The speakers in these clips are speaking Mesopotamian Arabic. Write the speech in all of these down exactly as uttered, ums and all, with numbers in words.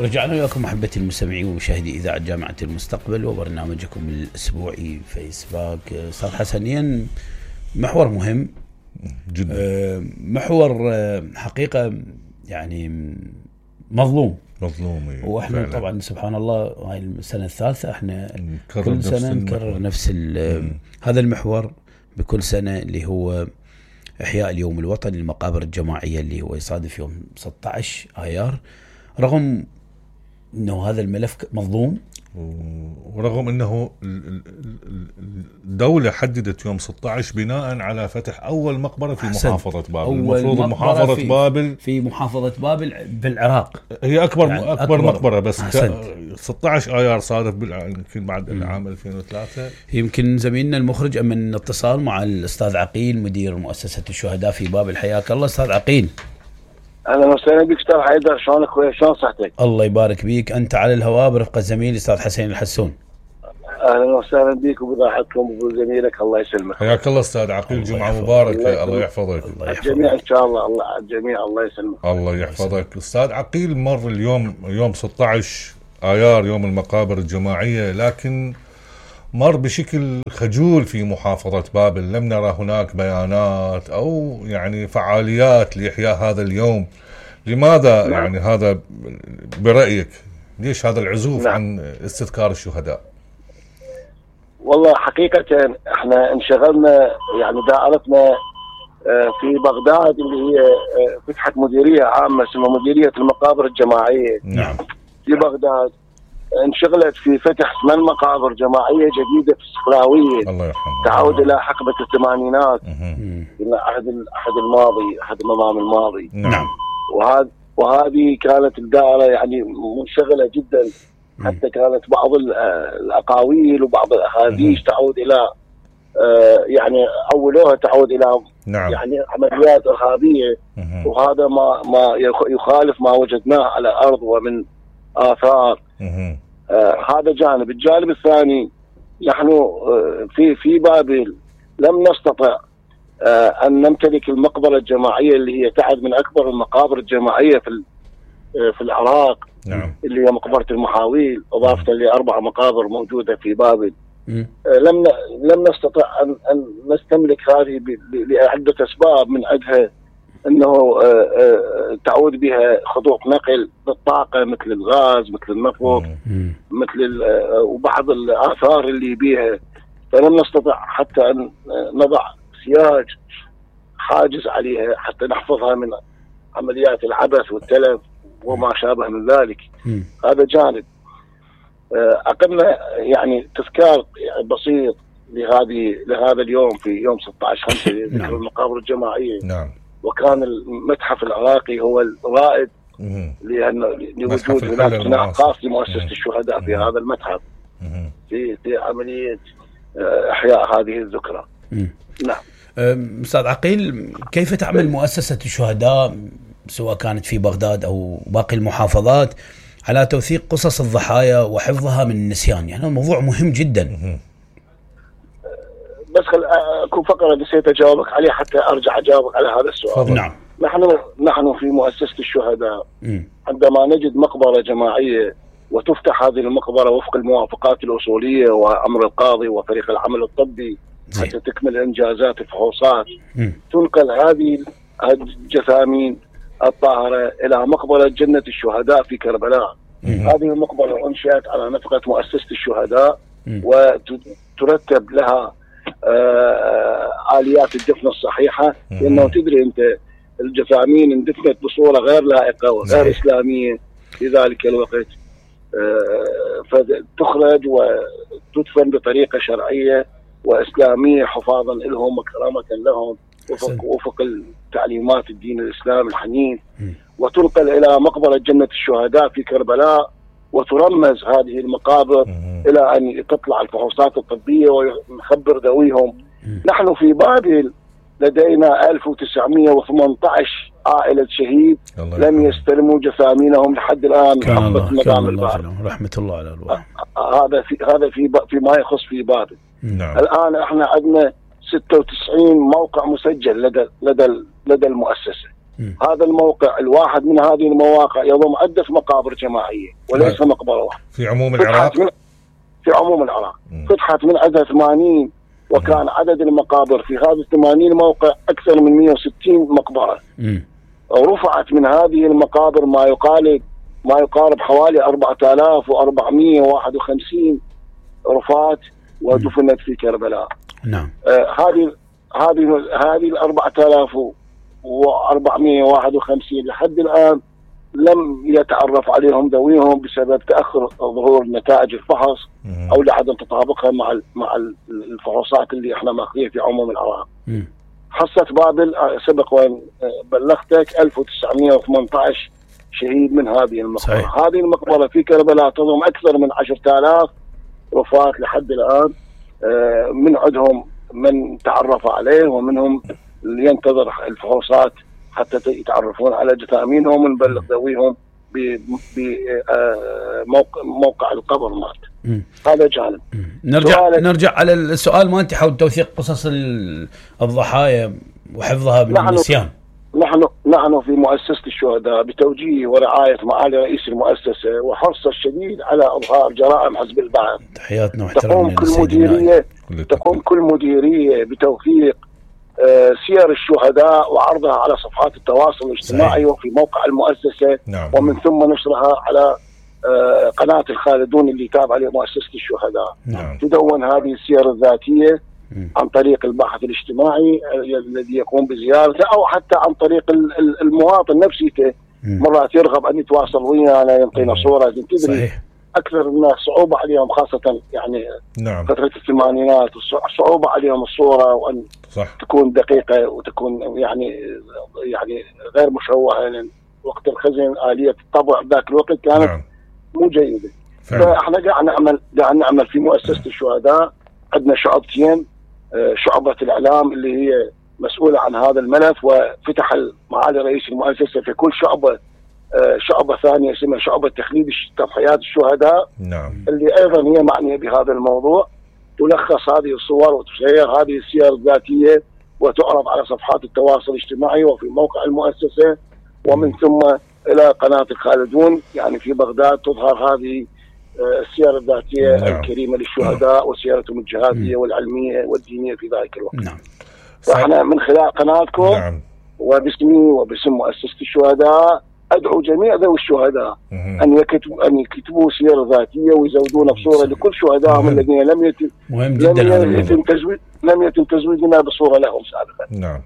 رجعنا وياكم محبتي المستمعين ومشاهدي إذاعة جامعة المستقبل وبرنامجكم الأسبوعي فيس باك. أستاذ حسنين، محور مهم جدا، محور حقيقة يعني مظلوم مظلوم واحنا فعلا. طبعا سبحان الله هاي السنة الثالثة احنا كل سنة نكرر نفس هذا المحور بكل سنة، اللي هو إحياء اليوم الوطني للمقابر الجماعية اللي هو يصادف يوم ستة عشر آيار، رغم انه هذا الملف مظلوم ورغم انه الدولة حددت يوم ستة عشر بناء على فتح اول مقبرة في محافظة بابل. المفروض محافظة في بابل في محافظة بابل بالعراق هي اكبر يعني أكبر, أكبر مقبرة، بس ستة عشر آيار صادف يمكن بعد العام ألفين وثلاثة. يمكن زميلنا المخرج من اتصال مع الأستاذ عقيل مدير مؤسسة الشهداء في بابل. حياك الله أستاذ عقيل. اهلا وسهلا بك استاذ حيدر، شلونك اخوي؟ شلون صحتك؟ الله يبارك بيك، انت على الهواء برفقه زميلي استاذ حسين الحسون. اهلا وسهلا بك وبضاعتكم وبزميلك، الله يسلمك. حياك الله استاذ عقيل، جمعه مباركه، الله يحفظك. الجميع ان شاء الله، الله الجميع الله يسلمك. الله يحفظك. استاذ عقيل، مر اليوم يوم ستة عشر آيار يوم المقابر الجماعيه، لكن مر بشكل خجول في محافظة بابل. لم نرى هناك بيانات أو يعني فعاليات لإحياء هذا اليوم. لماذا نعم. يعني هذا برأيك؟ ليش هذا العزوف نعم. عن استذكار الشهداء؟ والله حقيقة احنا انشغلنا، يعني دائرتنا في بغداد اللي هي فتحت مديرية عامة اسمها مديرية المقابر الجماعية نعم في بغداد، انشغلت في فتح ثمان مقابر جماعيه جديده في الصفراويه. الله يرحمه. تعود الى حقبه الثمانينات، الى عهد العهد الماضي، عهد النظام الماضي. نعم. وهذا وهذه كانت الدائره يعني منشغله جدا، حتى كانت بعض الاقاويل وبعض الاحاديث تعود الى يعني اولوها تعود الى نعم. يعني عمليات ارهابيه، وهذا ما ما يخالف ما وجدناه على الارض ومن آثار. آه هذا جانب. الجانب الثاني، نحن آه في في بابل لم نستطع آه أن نمتلك المقبرة الجماعية اللي هي تعد من أكبر المقابر الجماعية في آه في العراق. نعم. اللي هي مقبرة المحاويل، إضافة لأربع مقابر موجودة في بابل. آه لم لم نستطع أن أن نستملك هذه لعدة أسباب، من عندها انه تعود بها خطوط نقل بالطاقه مثل الغاز، مثل النفط، مثل وبعض الاثار اللي بيها، فلم نستطع حتى ان نضع سياج حاجز عليها حتى نحفظها من عمليات العبث والتلف وما شابه من ذلك. هذا جانب. اقمنا يعني تذكار بسيط لهذه لهذا اليوم في يوم ستة عشر خمسة ذكر المقابر الجماعيه. نعم. وكان المتحف العراقي هو الرائد لأنه لوجود هناك قناع خاص لمؤسسة الشهداء في هذا المتحف في في عملية إحياء هذه الذكرى. نعم. أستاذ عقيل، كيف تعمل مؤسسة الشهداء سواء كانت في بغداد أو باقي المحافظات على توثيق قصص الضحايا وحفظها من النسيان؟ يعني الموضوع مهم جدا. بس خل اكون فقره نسيت اجاوبك عليه حتى ارجع اجاوبك على هذا السؤال. نعم. نحن نحن في مؤسسه الشهداء م. عندما نجد مقبره جماعيه وتفتح هذه المقبره وفق الموافقات الاصوليه وامر القاضي وفريق العمل الطبي زي. حتى تكمل انجازات الفحوصات، م. تنقل هذه الجثامين الطاهره الى مقبره جنه الشهداء في كربلاء. م. هذه المقبره انشئت على نفقه مؤسسه الشهداء، م. وترتب لها آه آليات الدفن الصحيحة، لأنه تدري أنت الجثامين اندفنت بصورة غير لائقة وغير إسلامية في ذلك الوقت، آه فتخرج وتدفن بطريقة شرعية وإسلامية حفاظا لهم وكرامة لهم وفق, وفق التعليمات الدين الإسلام الحنيف، وتنقل إلى مقبرة جنة الشهداء في كربلاء، وترمز هذه المقابر مم. إلى أن تطلع الفحوصات الطبية ونخبر ذويهم. مم. نحن في بابل لدينا ألف وتسعمئة وثمانية عشر عائلة شهيد لم يستلموا جثامينهم لحد الآن. كان الله, كان الله رحمة الله على الواحد. هذا في هذا في فيما يخص في بابل. نعم. الآن احنا عندنا ستة وتسعين موقع مسجل لدى لدى لدى المؤسسة. هذا الموقع الواحد من هذه المواقع يضم عدة مقابر جماعية وليس مقبرة واحدة في عموم العراق. في عموم العراق فتحت من عدد ثمانين، وكان عدد المقابر في هذا الثمانين موقع أكثر من مئة وستين مقبرة. مم. رفعت من هذه المقابر ما يقارب ما يقارب حوالي أربعة آلاف وأربعمئة وواحد وخمسين رفات ودفنت في كربلاء. نعم. آه هذه هذه هذه ال أربعة آلاف وأربعمئة وواحد وخمسين لحد الآن لم يتعرف عليهم ذويهم بسبب تأخر ظهور نتائج الفحص أو لعدم تطابقها مع مع الفحوصات اللي احنا ماخذينها في عموم العراق. حصة بابل سبق وان بلغتك ألف وتسعمئة وثمانية عشر شهيد من هذه المقبرة. صحيح. هذه المقبرة في كربلاء تضم أكثر من عشرة آلاف رفات لحد الآن، من عندهم من تعرف عليه ومنهم اللي ينتظر الفحوصات حتى يتعرفون على جثامينهم ونبلغ ذويهم بموقع موقع القبر مات. هذا جانب. نرجع نرجع على السؤال ما انت حول توثيق قصص الضحايا وحفظها من النسيان. نحن نحن في مؤسسة الشهداء بتوجيه ورعاية معالي رئيس المؤسسة وحرص الشديد على إظهار جرائم حزب البعث. تحياتنا واحترامنا. تقوم كل مديرية تقوم كل مديرية بتوثيق سير الشهداء وعرضها على صفحات التواصل الاجتماعي. صحيح. وفي موقع المؤسسة. نعم. ومن ثم نشرها على قناة الخالدون اللي تابعة لمؤسسة الشهداء. نعم. تدون هذه السير الذاتية عن طريق الباحث الاجتماعي الذي يقوم بزيارته أو حتى عن طريق المواطن نفسه مرات يرغب أن يتواصل ويانا يعطينا صورة. تدري. صحيح. أكثر الناس صعوبة عليهم خاصة يعني نعم. فترة الثمانينات صعوبة عليهم الصورة وأن صح. تكون دقيقة وتكون يعني يعني غير مشوهة، لأن وقت الخزن آلية الطبع ذاك الوقت كانت نعم. مو جيدة. فإحنا قاعد نعمل قاعد نعمل في مؤسسة الشهداء عندنا شعبتين، شعبة الإعلام اللي هي مسؤولة عن هذا الملف، وفتح معالي رئيس المؤسسة في كل شعبة شعبة ثانية اسمها شعبة تخليد تضحيات الشهداء. نعم. اللي أيضا هي معنية بهذا الموضوع، تلخص هذه الصور وتسير هذه السير الذاتية وتعرض على صفحات التواصل الاجتماعي وفي موقع المؤسسة ومن ثم إلى قناة الخالدون يعني في بغداد تظهر هذه السير الذاتية. نعم. الكريمة للشهداء وسيرتهم الجهادية والعلمية والدينية في ذلك الوقت. نعم. فاحنا من خلال قناتكم. نعم. وباسمي وباسم مؤسسة الشهداء أدعو جميع ذوي الشهداء أن يكتبوا أن يكتبوا سير ذاتية ويزودون بصورة لكل شهدائهم الذين لم يتم مهم جدا لم يتم تزويد لم يتم تزويدنا بصورة لهم سابقا. نعم.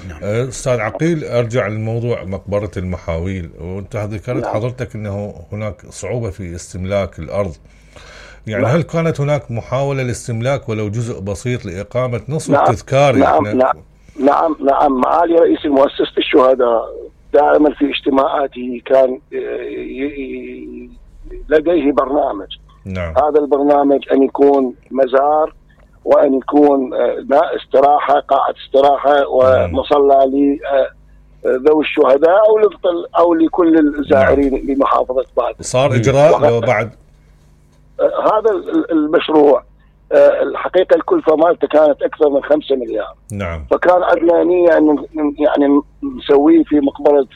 نعم. أستاذ عقيل، أرجع للموضوع مقبرة المحاويل، وأنت ذكرت نعم. حضرتك أنه هناك صعوبة في استملاك الأرض، يعني نعم. هل كانت هناك محاولة لاستملاك ولو جزء بسيط لإقامة نصف نعم. تذكاري؟ نعم. نعم نعم نعم معالي رئيس مؤسسة الشهداء دائما في اجتماعاته كان لديه برنامج. نعم. هذا البرنامج أن يكون مزار وأن يكون استراحة قاعة استراحة ومصلى لذوي الشهداء أو أو لكل الزائرين. نعم. لمحافظة بابل. صار إجراء بعد هذا المشروع الحقيقة الكلفة مالته كانت أكثر من خمسة مليار. نعم. فكان عندنا نية أن يعني نسويه في مقبرة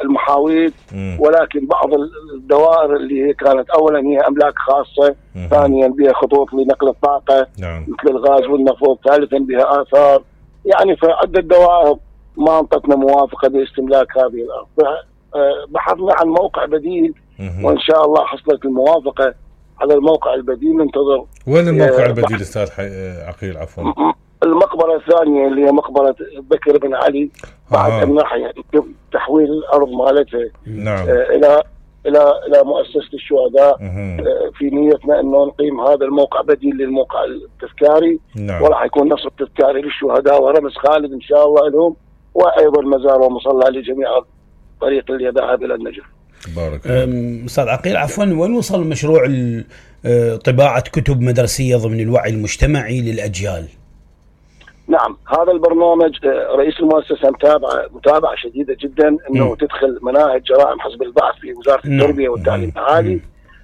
المحاويل. مم. ولكن بعض الدوائر اللي هي كانت أولا هي أملاك خاصة. مم. ثانيا بها خطوط لنقل الطاقة. نعم. مثل الغاز والنفط. ثالثا بها آثار، يعني فعدة دوائر ما انطتنا موافقة باستملاك هذه الأرض. بحثنا عن موقع بديل. مم. وإن شاء الله حصلت الموافقة على الموقع البديل. ننتظر. وين الموقع البديل استاذ عقيل؟ عفوا. المقبرة الثانية اللي هي مقبرة بكر بن علي بعد آه. الناحية تحويل الأرض مالتها. نعم. إلى إلى إلى مؤسسة الشهداء. مه. في نيتنا إنه نقيم هذا الموقع بديل للموقع التذكاري. نعم. وراح يكون نصب تذكاري للشهداء ورمز خالد إن شاء الله لهم، وأيضا مزار ومصلى لجميع الطريق اللي ذهب إلى النجف. بارك الله. أستاذ عقيل عفوا، وين وصل مشروع طباعة كتب مدرسية ضمن الوعي المجتمعي للأجيال؟ نعم، هذا البرنامج رئيس المؤسسة متابعة متابعة شديدة جدا انه م. تدخل مناهج جرائم حزب البعث في وزارة التربية والتعليم العالي.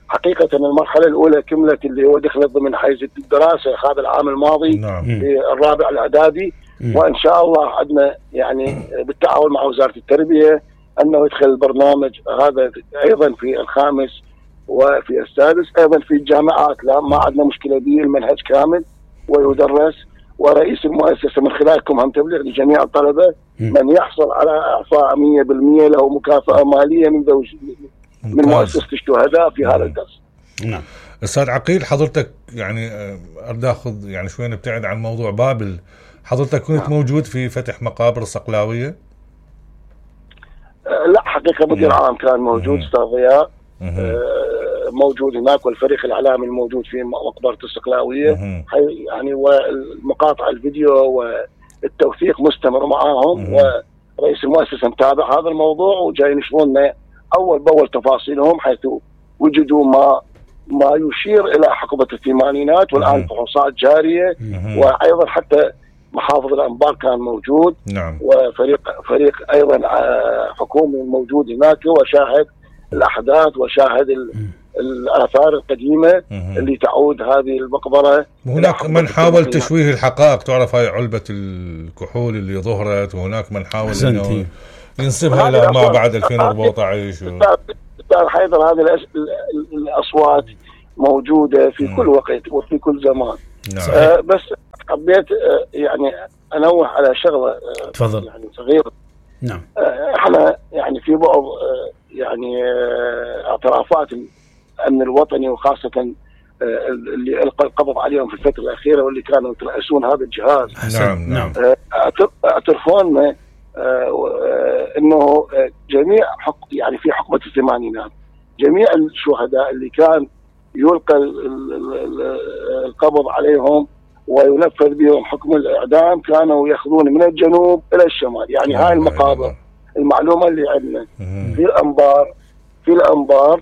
حقيقة المرحلة الأولى كملت اللي هو دخلت ضمن حيز الدراسة هذا العام الماضي. نعم. في الرابع الإعدادي. وان شاء الله عندنا يعني بالتعاون مع وزاره التربيه انه يدخل البرنامج هذا ايضا في الخامس وفي السادس، ايضا في الجامعات لا ما عندنا مشكله به، المنهج كامل ويدرس. ورئيس المؤسسه من خلالكم هم تبليغ لجميع الطلبه من يحصل على اعفاء مية بالمية له مكافاه ماليه من زوج من مؤسسه الشهداء في هذا الدرس. نعم. استاذ عقيل، حضرتك يعني اريد اخذ يعني شوي نبتعد عن موضوع بابل، حضرتك كنت نعم. موجود في فتح مقابر الصقلاويه؟ أه لا حقيقه مدير عام كان موجود استاذ ضياء، أه موجود هناك، والفريق الاعلامي الموجود في مقبره الصقلاويه يعني، والمقاطع الفيديو والتوثيق مستمر معاهم، ورئيس المؤسسه متابع هذا الموضوع وجاي ينشرون اول باول تفاصيلهم، حيث وجدوا ما ما يشير الى حقبه الثمانينات، والان فحوصات جاريه، وايضا حتى محافظ الانبار كان موجود. نعم. وفريق فريق ايضا حكومي موجود هناك وشاهد الاحداث وشاهد الآثار القديمة اللي تعود هذه المقبرة. وهناك من حاول تشويه الحقائق، تعرف هاي علبة الكحول اللي ظهرت، وهناك من حاول انه ينسبها الى ما بعد ألفين وأربعة عشر. استاذ حيدر، هذه الاصوات موجودة في كل وقت وفي كل زمان. نعم. آه بس حبيت آه يعني انوه على شغلة تفضل. يعني صغيرة. نعم. آه احنا يعني في بعض آه يعني آه اعترافات الامن الوطني، وخاصه اللي القى القبض عليهم في الفتره الاخيره واللي كانوا يترأسون هذا الجهاز. نعم نعم. اعترفون انه جميع حق يعني في حقبه الثمانينات جميع الشهداء اللي كان يلقى القبض عليهم وينفذ بهم حكم الاعدام كانوا ياخذون من الجنوب الى الشمال، يعني هاي المقابر المعلومه اللي عندنا في الانبار في الانبار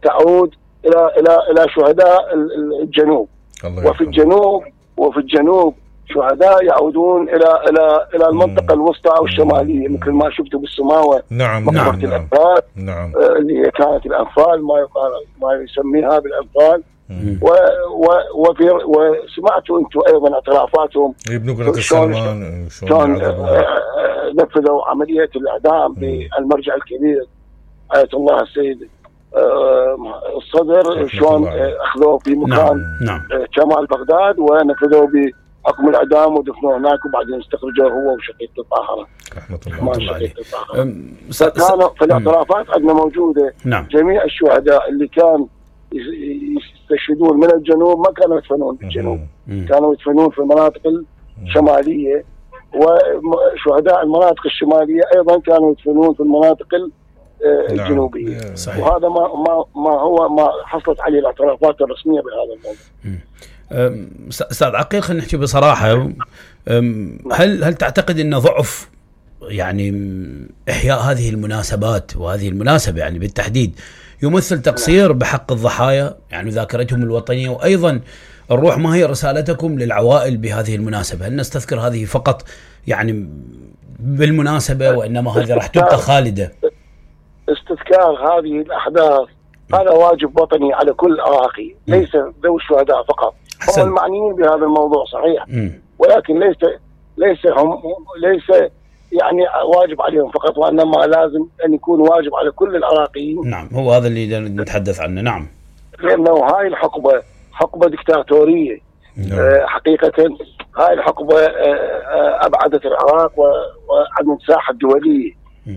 تعود الى الى الى شهداء الجنوب، وفي الجنوب وفي الجنوب شهداء يعودون الى الى الى المنطقه الوسطى او الشماليه، مثل ما شفتوا بالسماوه. نعم مقبره نعم الانفال. نعم. اللي هي كانت الانفال، ما يقال ما يسميها بالانفال. و و وفي وسمعتوا انتم ايضا اعترافاتهم بنقرة السلمان شلون نفذوا عمليه الاعدام بالمرجع الكبير آية الله السيد الصدر، شلون اخذوه في مكان نعم. شمال بغداد ونفذوه بحكم الاعدام ودفنوه هناك، وبعدين استخرجوه هو وشقيقته الطاهره رحمه الله عليه. فكانوا فالاعترافات عندنا موجوده. نعم. جميع الشهداء اللي كان يستشهدون من الجنوب ما كانوا يدفنون في الجنوب، كانوا يدفنون في المناطق الشماليه، وشهداء المناطق الشماليه ايضا كانوا يدفنون في المناطق الجنوبيه. نعم. وهذا ما ما ما هو ما حصلت عليه الاعترافات الرسميه بهذا الموضوع. استاذ عقيل، خلينا نحكي بصراحه، هل هل تعتقد ان ضعف يعني احياء هذه المناسبات وهذه المناسبه يعني بالتحديد يمثل تقصير بحق الضحايا، يعني ذاكرتهم الوطنيه، وايضا الروح ما هي رسالتكم للعوائل بهذه المناسبه؟ هل نستذكر هذه فقط يعني بالمناسبه، وانما هذه راح تبقى خالده؟ استذكار هذه الأحداث هذا واجب وطني على كل عراقي، ليس ذوي الشهداء فقط. هم المعنيين بهذا الموضوع صحيح، م. ولكن ليس ليس هم ليس يعني واجب عليهم فقط، وإنما لازم أن يكون واجب على كل العراقيين. نعم، هو هذا اللي نتحدث عنه. نعم. لأنه هاي الحقبة حقبة دكتاتورية. آه حقيقة هاي الحقبة آه أبعدت العراق وعن الساحة الدولية،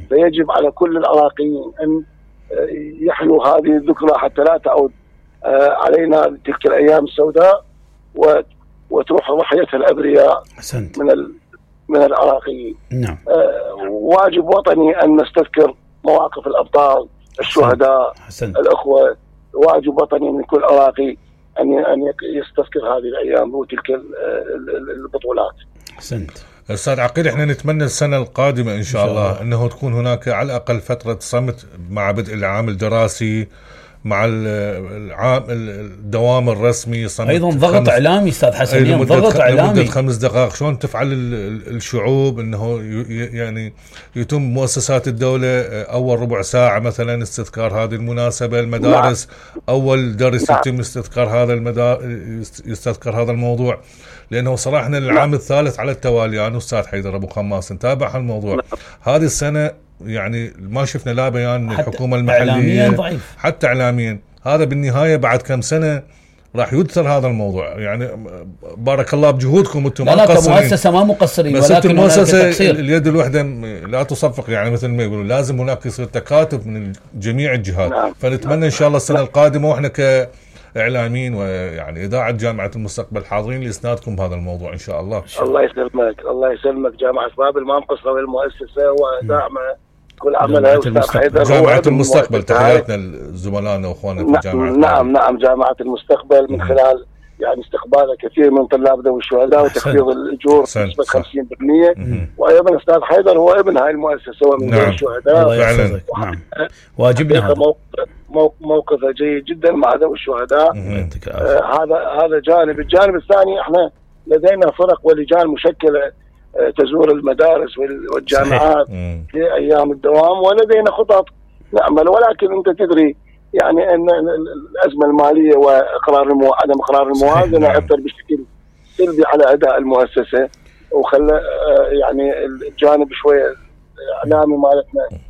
فيجب على كل العراقيين أن يحلوا هذه الذكرى حتى لا تعود علينا تلك الأيام السوداء وتروح ضحيتها الأبرياء من من العراقيين. نعم. واجب وطني أن نستذكر مواقف الأبطال الشهداء حسن. الأخوة. واجب وطني من كل عراقي أن أن يستذكر هذه الأيام وتلك البطولات. أحسنت. أستاذ عقيل، احنا نتمنى السنة القادمة إن شاء الله أنه تكون هناك على الأقل فترة صمت مع بدء العام الدراسي مع العام الدوام الرسمي ايضا ضغط اعلامي استاذ حسنين، ضغط اعلامي لمده خمس دقائق. شلون تفعل الشعوب انه يعني يتم مؤسسات الدوله اول ربع ساعه مثلا استذكار هذه المناسبه، المدارس اول درس يتم استذكار هذا المدار يستذكر هذا الموضوع، لانه صراحه العام الثالث على التوالي انا استاذ حيدر ابو خماس نتابع هالموضوع. هذه السنه يعني ما شفنا لا بيان من الحكومه المحليه ضعيف. حتى اعلاميا. هذا بالنهايه بعد كم سنه راح يدثر هذا الموضوع. يعني بارك الله بجهودكم انتم، لا لا كمؤسسه ما مقصرين، بس ولكن المؤسسه اليد الوحده لا تصفق، يعني مثل ما يقولوا لازم هناك يصير تكاتف من جميع الجهات. نعم. فنتمنى ان شاء الله السنه القادمه واحنا كاعلاميين ويعني اذاعه جامعه المستقبل حاضرين لاسنادكم بهذا الموضوع ان شاء الله. الله يسلمك الله يسلمك. جامعه بابل ما مقصره بالمؤسسه وداعمه كل عملها. جامعة المستقبل تحياتنا لزملائنا واخواننا في جامعة نعم نعم جامعة المستقبل من خلال يعني استقبال كثير من طلاب ذوي الشهداء وتخفيض الاجور بنسبة خمسين بالمئة. وايضا استاذ حيدر هو ابن هاي المؤسسة ومن ذوي الشهداء فعلا. نعم واجبنا هذا موقفه جيد جدا مع ذوي الشهداء. آه هذا هذا جانب. الجانب الثاني احنا لدينا فرق ولجان مشكلة تزور المدارس والجامعات في أيام الدوام، ولدينا خطط نعمل. ولكن أنت تدري يعني أن الأزمة المالية وإقرار المو... عدم إقرار الموازنة أثر بشكل سلبي على أداء المؤسسة، وخلى يعني الجانب شوية إعلامي مالتنا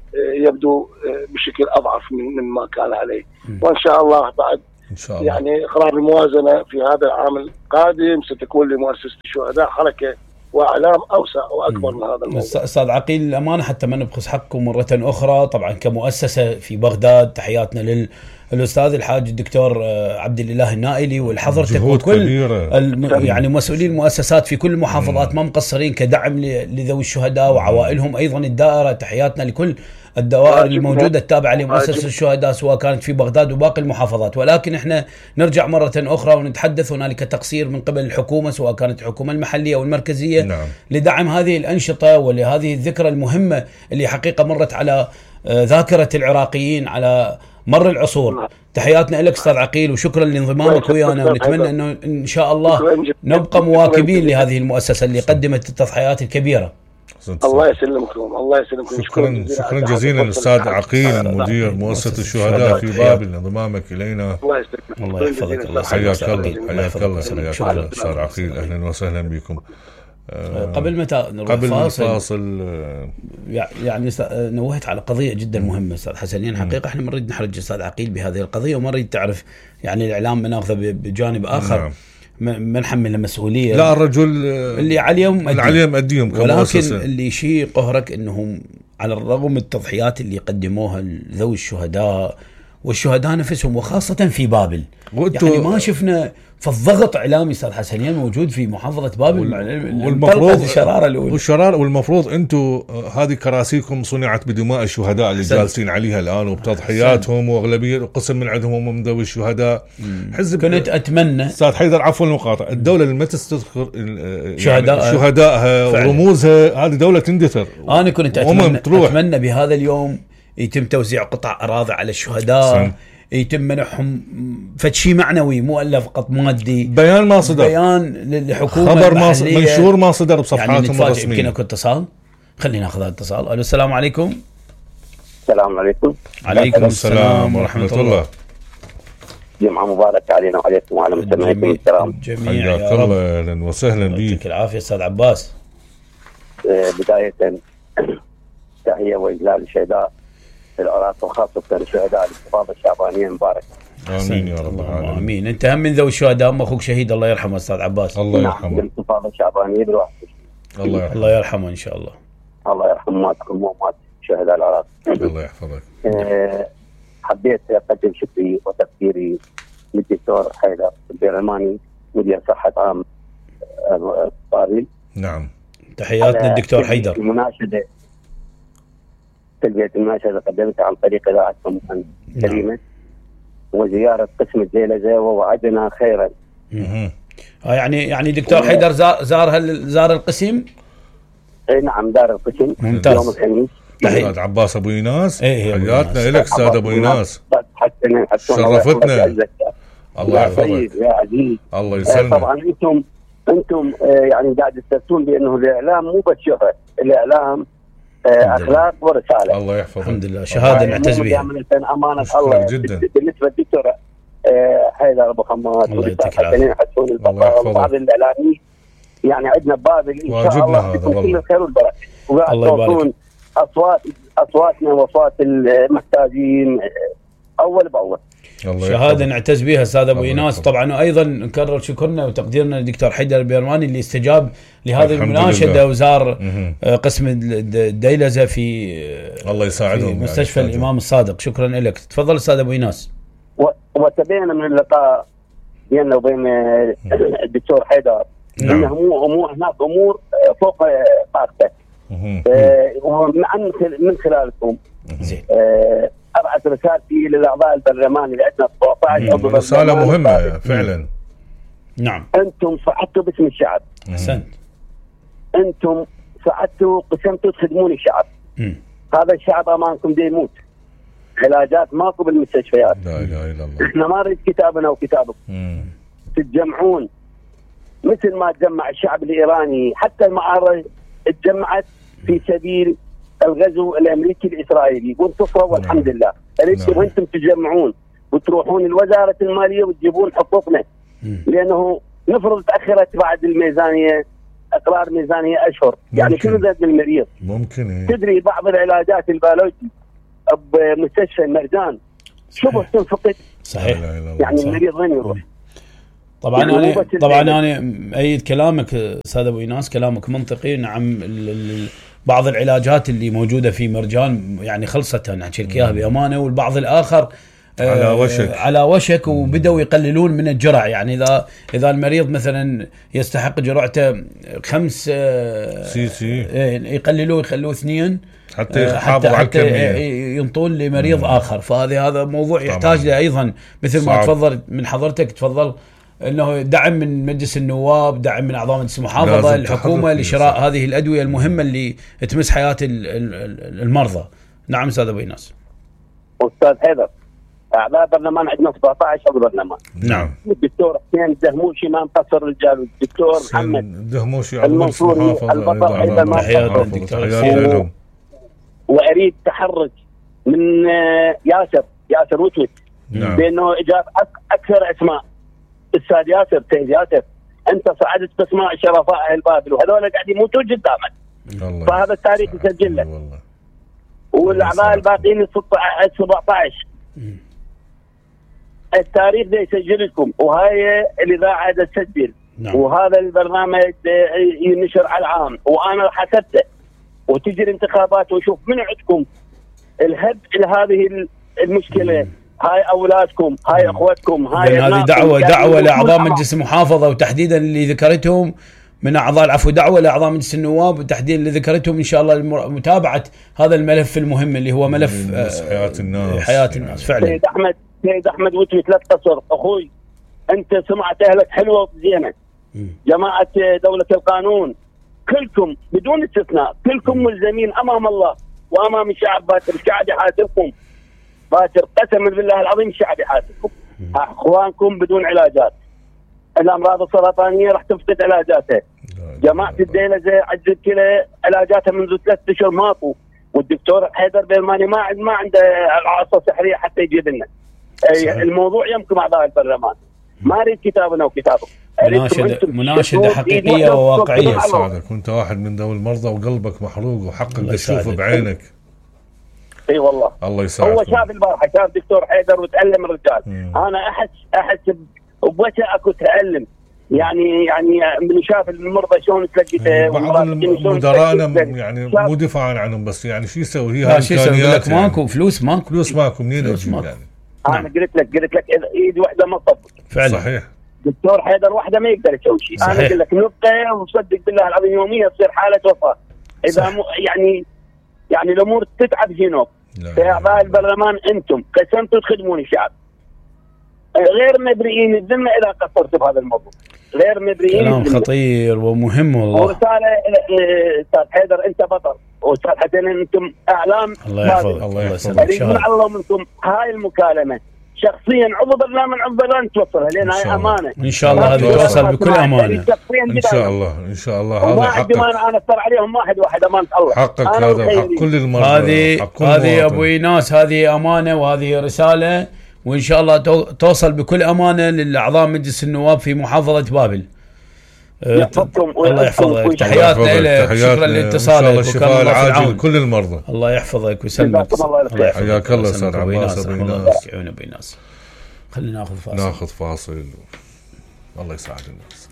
يبدو بشكل أضعف من من ما كان عليه. وإن شاء الله بعد إن شاء الله. يعني إقرار الموازنة في هذا العام القادم ستكون لمؤسسة الشهداء حركة واعلام اوسع واكبر من هذا الموضوع. استاذ عقيل الامانه حتى ما نبخس حقكم مره اخرى، طبعا كمؤسسه في بغداد تحياتنا للاستاذ الحاج الدكتور عبد الاله النائلي والحضرتك وكل الم... يعني مسؤولين المؤسسات في كل المحافظات ما مقصرين كدعم لذوي الشهداء وعوائلهم. ايضا الدائره تحياتنا لكل الدوائر الموجودة التابعة لمؤسسة الشهداء سواء كانت في بغداد وباقي المحافظات. ولكن احنا نرجع مرة أخرى ونتحدث هنالك تقصير من قبل الحكومة سواء كانت الحكومة المحلية أو المركزية. نعم. لدعم هذه الأنشطة ولهذه الذكرى المهمة اللي حقيقة مرت على ذاكرة العراقيين على مر العصور. نعم. تحياتنا لك أستاذ عقيل وشكرا لانضمامك ويانا، ونتمنى أنه إن شاء الله نبقى مواكبين لهذه المؤسسة اللي قدمت التضحيات الكبيرة. الله يسلمكم الله يسلمكم. شكرا شكرا جزيلا الاستاذ عقيل مدير مؤسسه الشهداء في بابل لانضمامك الينا. الله يسلمك الله يحفظك. الله حياك الله حياك الله حياك الله استاذ عقيل، اهلا وسهلا بكم. قبل متى نروح قبل فاصل, فاصل يعني نوهت على قضيه جدا مهمه استاذ حسنين. حقيقه احنا ما نريد نحرج استاذ عقيل بهذه القضيه وما نريد تعرف يعني الاعلام مناخذه بجانب اخر. نعم. ما نحمل مسؤوليه. لا الرجل اللي عليهم اللي عليهم اديهم كمؤسسه، ولكن اللي شيء قهرك انهم على الرغم من التضحيات اللي قدموها لذوي الشهداء والشهداء نفسهم وخاصه في بابل، يعني ما شفنا فالضغط اعلامي استاذ حسنين موجود في محافظه بابل. والمفروض الشراره الاولى والشراره والمفروض انتم هذه كراسيكم صنعت بدماء الشهداء اللي جالسين عليها الان وبتضحياتهم، واغلبيه قسم من عندهم من ذوي الشهداء. حزب كنت اتمنى استاذ حيدر عفوا المقاطعه، الدوله اللي ما تستذكر يعني شهداء شهدائها ورموزها هذه دوله تندثر. انا كنت اتمنى اتمنى بهذا اليوم يتم توزيع قطع اراضي على الشهداء سن. يتم منحهم فشي معنوي مؤلف فقط مادي. بيان ما صدر، بيان للحكومه، خبر ما صدر، منشور ما صدر بصفحاتهم يعني الرسميه. يمكن اكو اتصال، خلينا ناخذ هذا الاتصال. الو السلام عليكم. السلام عليكم. عليكم السلام ورحمه الله. جمعه مباركه علينا وعليكم وعلى مستمعيكم الكرام. جميعا حياك الله، اهلا وسهلا بك. يعطيك العافيه استاذ عباس. بدايه تحيه واجلال الشهداء العراق وخاصة الشهداء الانتفاضة الشعبانية المباركة. آمين يا رب العالمين. آمين. أنت هم من ذوي الشهداء، أم أخوك شهيد الله يرحمه أستاذ عباس. الله يرحمه. الانتفاضة الشعبانية بالواحد. الله يرحمه. الله يرحمه إن شاء الله. الله يرحم ماتكم ومات شهداء العراق. الله يحفظك. حبيت أقدم شكري وتقديري للدكتور حيدر البيرماني مدير صحة عام بابل. نعم. تحياتنا الدكتور حيدر. المناشدة تلبية المناشدة قدمتها عن طريق إذاعتكم الكريمة وزيارة قسم الزيلزة ووعدنا خيرا. اها يعني يعني دكتور حيدر زار زار هل زار القسم؟ اي نعم زار القسم. ممتاز. يوم الخميس. استاذ عباس ابو ايناس. ايه حياتنا لك استاذ ابو ايناس. حتى حسنين حسون. شرفتنا. الله يحفظك يا عزيز. الله يسلمك. طبعا انتم انتم يعني قاعد تستفسرون بانه الاعلام مو بس شهرة، الاعلام اخلاق ورساله. الله يحفظك. الحمد لله شهاده نعتز بها امانه الله جدا. بالنسبه للدكتور حيدر ابو حماد والدكتور حسون البطل وبعض الاعلاميين يعني عندنا بابل ان شاء الله كل الخير والبركه، وقاعد توصلون اصوات اصواتنا واصوات المحتاجين اول باول. شهاده نعتز بها استاذ ابو ايناس. طبعا وايضا نكرر شكرنا وتقديرنا للدكتور حيدر البيرواني اللي استجاب لهذه المناشده وزار قسم الديلزه في الله يساعدهم في مستشفى يعني الامام الصادق. شكرا لك. تفضل استاذ ابو ايناس. وتبين من اللقاء بيننا وبين الدكتور حيدر نعم. انه مو مو هناك امور فوق طاقته، ومن من خلالكم ابعث رسالتي للاعضاء البرلمان اللي عندنا سبعة عشر عضو. رساله مهمه فعلا. نعم. انتم صعدتوا باسم الشعب. احسنت. انتم صعدتوا قسمتوا تخدمون الشعب. م. هذا الشعب امامكم دي يموت. علاجات ماكو بالمستشفيات. لا اله الا الله. احنا ما نريد كتابنا وكتابكم. تتجمعون مثل ما تجمع الشعب الايراني، حتى المعارضه تجمعت في سبيل الغزو الامريكي الاسرائيلي وانتصروا والحمد لله. اريدكم انتم تجمعون وتروحون لوزاره الماليه وتجيبون حقوقنا، لانه نفرض تاخرت بعد الميزانيه اقرار ميزانيه اشهر، يعني شنو زاد بالمريض؟ ممكن إيه؟ تدري بعض العلاجات البيولوجي بمستشفى المرجان شبه تنفقد. صحيح. يعني صحيح. المريض وين يروح؟ طبعا يعني انا طبعا انا ايد كلامك استاذ ابو ايناس، كلامك منطقي. نعم بعض العلاجات اللي موجوده في مرجان يعني خلصت، انا احكي لك اياها بامانه، والبعض الاخر على وشك على وشك وبداوا يقللون من الجرعه. يعني اذا اذا المريض مثلا يستحق جرعته خمس سي سي يقللوه يخلوه اثنين حتى يحافظ على الكميه ينطون لمريض مم. اخر. فهذا هذا موضوع يحتاج له ايضا مثل صعب. ما تفضل من حضرتك تفضل انه دعم من مجلس النواب، دعم من اعضاء مجلس المحافظه، الحكومه لشراء هذه الادويه المهمه اللي تمس حياه المرضى. نعم استاذ ابو ايناس. استاذ حيدر، اعضاء برلمان عندنا سبعة عشر عضو برلمان. نعم. الدكتور حسين الدهموشي ما مقصر رجال، الدكتور محمد الدهموشي عضو المحافظه البطل ايضا ما قصر. واريد تحرك من ياسر ياسر وتوت نعم. بانه اجاب اكثر اسماء. استاذ ياسر سيد ياسر، انت صعدت باسماء شرفاء اهل بابل وهذول قاعدين يموتون قدامك، فهذا التاريخ يسجل لك. والاعضاء الباقيين ال سبعة عشر التاريخ ده يسجل لكم، وهاي الاذاعه ده تسجل. نعم. وهذا البرنامج ينشر على العام، وانا حسبته وتجي الانتخابات وشوف من عندكم الهب لهذه المشكله. مم. هاي اولادكم، هاي اخوتكم، هاي هذه دعوه دعوه لاعضاء مجلس المحافظه وتحديدا اللي ذكرتهم من اعضاء العفو، دعوه لاعضاء مجلس النواب وتحديدا اللي ذكرتهم ان شاء الله متابعه هذا الملف المهم اللي هو ملف حياه الناس. حياه الناس فعلا. سيد احمد سيد احمد وتويت لا تقصر اخوي، انت سمعت اهلك حلوه وزينه. جماعه دوله القانون كلكم بدون استثناء كلكم ملزمين امام الله وامام الشعب. باكر الشعب يحاسبكم، باكر قسما بالله العظيم الشعب يحاسبكم. اخوانكم بدون علاجات، الامراض السرطانيه راح تفقد علاجاتها. جماعه الديلزه عجز الكلى علاجاتها منذ ثلاث اشهر ماكو، والدكتور حيدر بيرماني ما ما عنده العصا سحريه حتى يجيب لنا. الموضوع يمكن اعضاء البرلمان، ما اريد كتابنا وكتابكم. مناشده مناشده حقيقيه وواقعيه. سعدك وانت واحد من ذوي المرضى وقلبك محروق وحقك تشوفه بعينك. اي والله الله يسعدك. هو شاف البارحه، شاف دكتور حيدر وتعلم الرجال. مم. انا احس احس بوجه اكو تعلم، يعني يعني من شاف المرضى شلون تلقيته. بعض مدراءنا يعني مو دفاعا عنهم، بس يعني شو يسوي؟ هي امكانيات يعني. ماكو فلوس، ماكو فلوس ماكو منين اجيب يعني؟ انا نعم. قلت لك قلت لك ايد واحده ما تطبق فعلا. صحيح. دكتور حيدر وحده ما يقدر يسوي شيء. انا اقول لك نبقى وصدق بالله العظيم يوميا تصير حاله وفاه اذا م... يعني يعني الامور تتعب جنوب. يا اعضاء البرلمان انتم قسمتوا تخدمون الشعب، غير مبرئين الذمه اذا قصرتوا بهذا الموضوع، غير مبرئين. كلام خطير ومهم والله. ورساله استاذ حيدر، انت بطل، واستاذ حسين انتم اعلام. الله يحفظك. الله يحفظك. اريد من الله منكم هاي المكالمه شخصيا عضو برنامج عضو برنامج توصلها لان هاي امانه ان شاء الله هذه توصل بكل امانه ان شاء الله ان شاء الله. هذا حقك انا اثر عليهم واحد واحد امانه الله حقك هذا حق كل المرضى. هذه هذه ابو ايناس هذه امانه وهذه رساله وان شاء الله توصل بكل امانه للاعضاء مجلس النواب في محافظه بابل. يحفظكم الله يحفظك. تحياتنا لك. شكرا لاتصالك. الشفاء العاجل لكل المرضى. الله يحفظك ويسلمك. حياك الله استاذ عباس ابو ايناس. خلينا ناخذ فاصل. ناخذ فاصل. الله يساعد الناس.